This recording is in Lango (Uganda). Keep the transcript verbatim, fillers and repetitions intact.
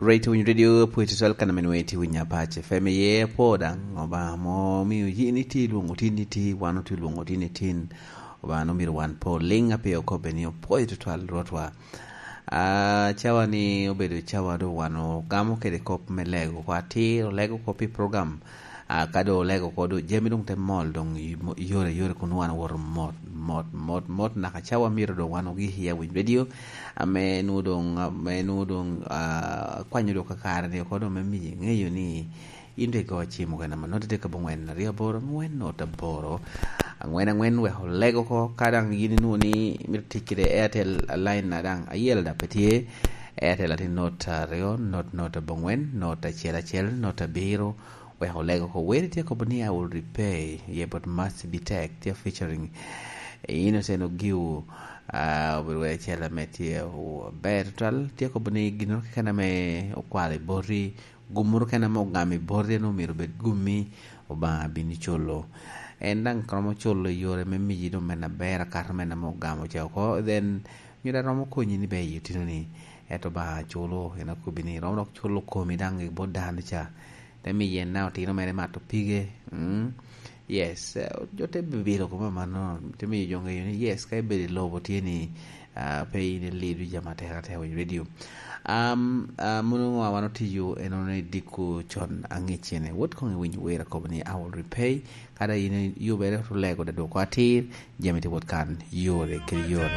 Rate Winy Radio pwod tutwal kan ame nwoŋo itye winyo Apac F M iye, apwoo daŋ. Obaŋa mo omio yin itye ilwoŋo tin iti, wan otye ilwoŋo tin itin. Obaŋa nwoŋo myero wan po liŋ, ape okobbe ni opwoyo tutwal Rwotwa. Ah, cawa ni obedo cawa doŋ wan ogamo kede kop me lego oko atir, olego oko pi program. Ah, ka doŋ olego oko doŋ jami doŋ te mol doŋ i mo-, yore yore kun wan owoto mot, mot, mot, mot, naka cawa myero doŋ wan ogik i Awiny Radio. Ame nwoŋo doŋ, ame nwoŋo doŋ, ah, akwanyo doŋ kakare ni oko doŋ me miyi ŋeyo ni in doŋ igo cim okene ame noti tye ka bongwen aryo aboro angwen noti aboro angwen angwen, wek oleg oko. Ka daŋ yin inwoŋo ni imito tic kede Airtel line na daŋ ayel daŋ pe tye, Airtel atin noti aryo, noti, noti abongwen, noti acel acel, noti abiro, wek oleg oko. Weri tye kobo ni I will repay, ye but must be tech, tye featuring Innocent Ogiu, ah, obedo wai acel ame tye, oh, ber tutwal. Tye kobo ni gin keken ame okwalo i boti, gummoro keken ame ogamo i boti, en omyero obed gummi, Obaŋa bino culo. En daŋ romo culo i yore me miyi doŋ men aber akato men ame ogamo ca oko, then myero aromo konyi ni be i otino ni, ento Obaŋa culo, en akobbi ni romo dok culo komi daŋ i bot dano ca. Te miyo en na otino mere mato pige. Mm. Yes, eh, jo te bibilo kome amanno, te miyo jo ŋeyo ni, yes, ka ibedo i lobo tye ni, ah, pe in ilido jami atek atek i radio. Am, ah, mono ŋo a wan otiyo, en ono i diko con aŋic cene. Wot koŋ iwiny wer akobo ni, "I will repay." Kada in yubere olego da dwoko atir, jami te wot kan yore kede yore.